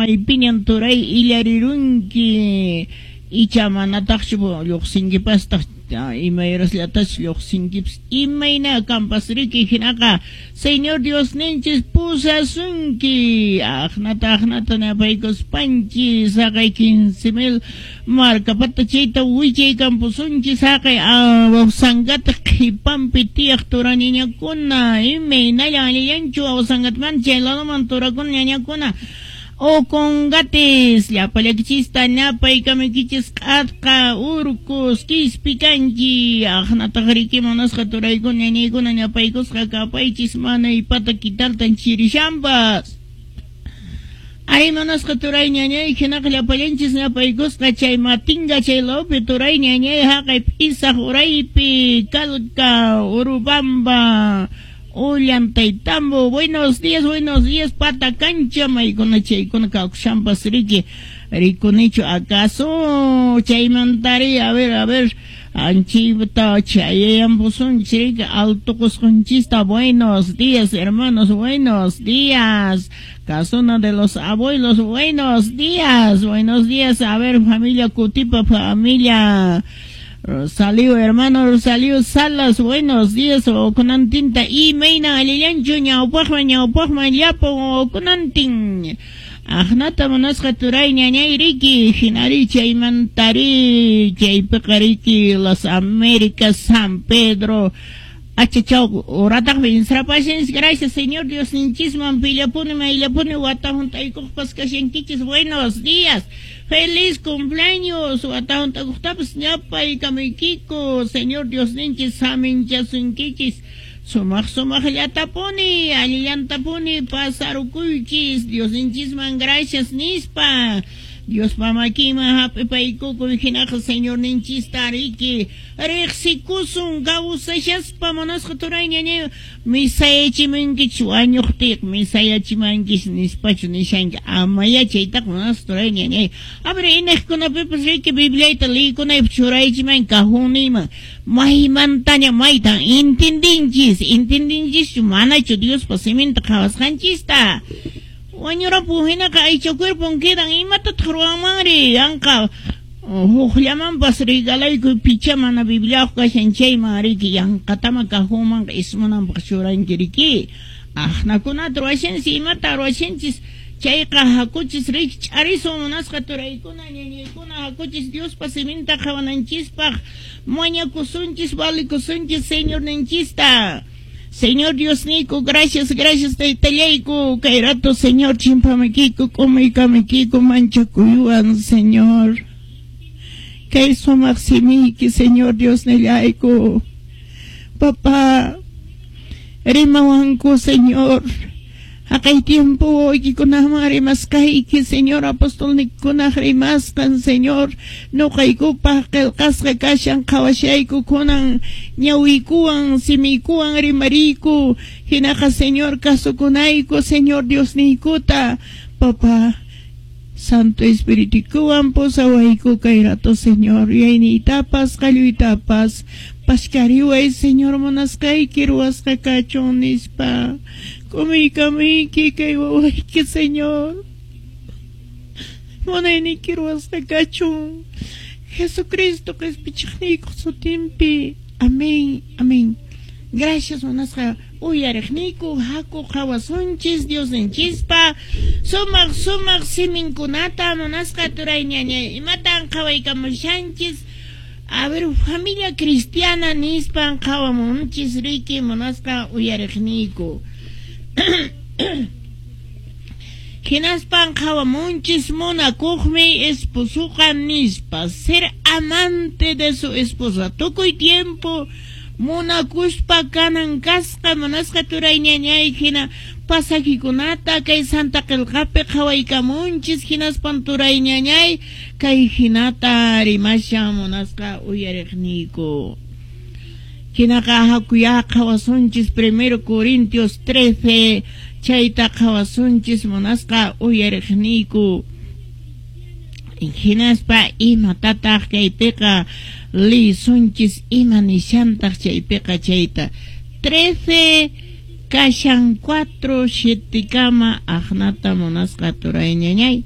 Maypiñan turay illarirunki? Icha manataqchu lluqsinkipastaq, imayrasllatachu lluqsinkipas, imayna kanpas riki, hinaqa Señor Diosninchis pusasunki. Aqnata aqnata napaykuspanchis haqay 15,000 markapata chayta wichay kampusunchis haqay Awsangata qhipanpi tiyaq turañañakuna, imaynallan allillanchu Awsangatmanta chay ladoman turakuna ñañakuna. Ocongates, llapallakichista napaykamuykichis q'atqa urcus quispi kanchi aqnataq riki munasqa turaykuna ñañaykuna ñapaykusqa kapaychis manaypata kitaltan chirishampas. Ay munasqa turay ñañay hinaqa llapallanchis ñapaykusqa chay matinga chay lawpi turay ñañay haqay p'isaq uraypi Calca Urubamba Ollantaytambo, buenos días, pata cancha, maykuna chaykuna kawshampas riki, rikunichu acaso chaymantari, a ver, anchita chayayampusunchis riki, alto qusqunchista, buenos días, hermanos, buenos días, casona de los abuelos, buenos días, a ver, familia Cutipa, familia Rosalío, hermano Rosalío Salas, buenos días, okunantinta, y meina alillanchu, ñawpaqman, ñawpaqman, llapo, okunantin. Aqnata munasqa turay ñañay riki, hinari chaymantari, chaypiqa riki, Las Américas, San Pedro, achachaw, urataqmi insrapashinchis, gracias Señor Dios ninchisman, pillapuni, mayllapuni, watahun taykuqpas kashankichis, buenos días. Feliz cumpleaños, watahun takuqtapas ñapaykamuykiku, Señor Dios ninchis saminchasunkichis, sumaq sumaqllatapuni, allillantapuni pasarukuychis, Dios ninchisman gracias nispa. Dios mamakima hap'ipaykukuy hinaqa Señor ninchista riki riqsikusun kawsashaspa munasqa turay ñañay misayachimankichis wañuqtiyqa misayachimankichis nispachu nishanki amaya chaytaqa munasqa turay ñañay. A ver, inaqkunapipas riki Bibliayta liykunaypaq churaychiman cajoniyman maymantaña maytan entendinchis, entendinchischu manachu Diospa siminta qhawasqanchista. Wañurapu hinaqa aycha cuerpon quedan imatataq ruwanmanri yanqa hukllamanpas regalaykuy picha mana Bibliayuq kashan chayman riki yanqatama cajonmanqa ismunanpaq churanki riki. Aqnakunata ruwashanchis imata ruwashanchis chayqa hakuchis riki ch'arisun munasqa turaykuna ñañaykuna hakuchis Diospa siminta qhawananchispaq mañakusunchis valikusunchis Señorninchista. Señor Dios niku, gracias, gracias taytallayku, kay rato Señor chimpamikiku, k'umuykamuykiku, manchakuywan Señor. Kay sumaq simiyki Señor Dios nillayku. Papá, rimawanku Señor. Haqay tiempo waykikunaman rimasqayki Señor apostolnikunaq rimasqan Señor nuqaykupaq qillqasqa kashan qhawashayku kunan ñawiykuwan simiykuwan rimariyku hinaqa Señor kasukunayku Señor Diosniykuta Papá Santo Espiritukuwan pusawayku kay rato Señor yuyayniytapas qalluytapas pashkariway Señor munasqayki ruwasqa kachun nispa k'umuykamuyki kay wawayki Señor munayniyki ruwasqa kachun Jesucristo qispichiqniykuq sutinpi amén, amén. Gracias munasqa uyariqniyku haku qhawasunchis Diosninchispa sumaq sumaq siminkunata munasqa turay ñañay imatan qhawaykamushanchis. A ver, familia cristiana nispan qhawamunchis riki munasqa uyariqniyku. Hinaspan qhawamunchis munakuqmi esposuqa nispa, ser amante de su esposa tukuy tiempo munakuspa kanan kasqa munasqa turay ñañay hina pasajikunata kay Santa Qillqapi qhawaykamunchis hinaspan turay ñañay kay hinata rimashan munasqa uyariqniyku. Hinaqa hakuya qhawasunchis 1 Corintios 13 chayta qhawasunchis munasqa uyariqniyku. Hinaspa imatataq kaypiqa lisunchis ima nishantaq chaypiqa chayta 13 kashan 4 7 kama aqnata munasqa turay ñañay.